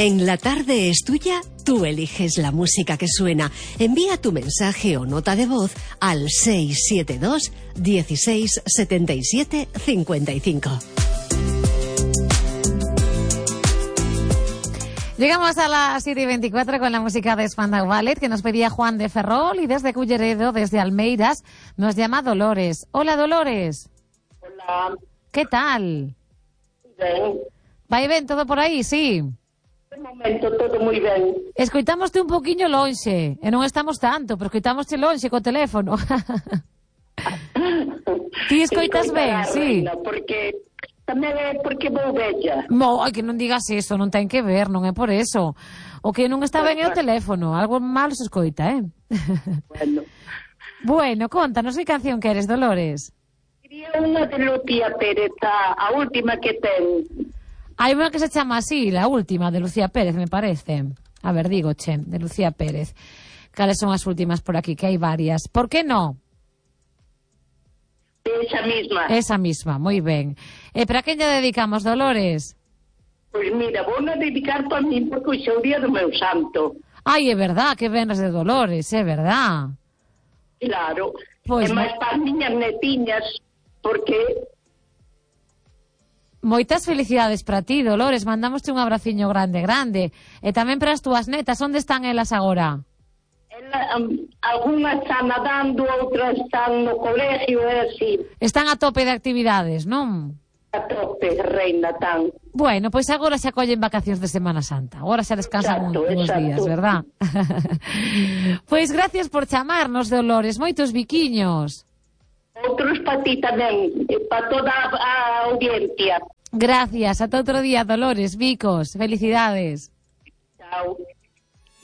En La Tarde es Tuya, tú eliges la música que suena. Envía tu mensaje o nota de voz al 672 16 77 55. Llegamos a las 7:24 con la música de Spandau Ballet que nos pedía Juan de Ferrol, y desde Culleredo, desde Almeiras, nos llama Dolores. Hola, Dolores. Hola. ¿Qué tal? Ben. Vai ben todo por aí, sí? De momento todo moi ben. Escoitámoste un poquinho lonxe, e non estamos tanto, pero escoitámoste lonxe co teléfono. Ti escoitas ben, sí? Reina, porque tamén é porque vou bella. Ai, que non digas eso, non ten que ver, non é por eso. O que non está ben é o teléfono, algo malo se escoita, Bueno. Bueno, contanos que canción queres, Dolores. Quería unha de Lucía Pérez, a última que ten. Hai unha que se chama así, la última, de Lucía Pérez, me parece. A ver, digo, de Lucía Pérez. Cales son as últimas por aquí, que hai varias. Por que no? Esa misma. Esa misma, moi ben. E para quen lle dedicamos, Dolores? Pois mira, vou na dedicar para mí porque hoxe é o día do meu santo. Ai, é verdad, que venres de Dolores, é verdad. Claro. Pois e máis para as miñas netiñas, porque... Moitas felicidades para ti, Dolores. Mandámoste un abraciño grande, grande. E tamén para as túas netas. Onde están elas agora? Algunhas están nadando, outras están no colegio, é así. Están a tope de actividades, non? A tope, reina, tan. Bueno, pois agora se acollen vacacións de Semana Santa. Agora se descansan uns días, verdad? Pois gracias por chamarnos, Dolores. Moitos biquiños. Outros para ti tamén, para toda a audiencia. Gracias, ata outro día, Dolores, bicos, felicidades. Chao.